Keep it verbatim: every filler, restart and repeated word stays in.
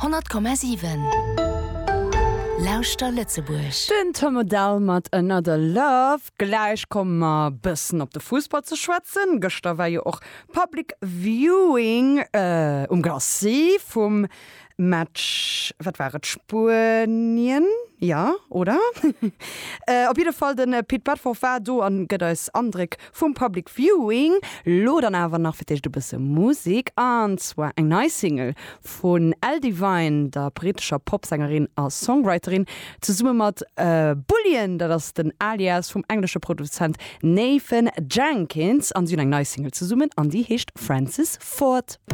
honnert Komma siwen Lauschter Lëtzebuerg. Den Tom Odell mat Another Love. Gläich komme mer bëssen op de Fussball ze schwätzen. Gëschter war jo och Public Viewing um Glacis vum Match, wat war et, Spuenien, jo, oder? Op jidde Fall de Pit Bedford war do an gëtt eis Andréck vum Public Viewing. Lo dann awer nach fir d'éischt e bësse Musek, an zwar eng nei Single vun Elle Divine, der brittescher Popsängerin a Songwriterin, zesumme mat Bullion, dat ass den Alias vum englesche Produzent Nathan Jenkins, an si hunn eng nei Single zesummen an déi heescht Francis Ford.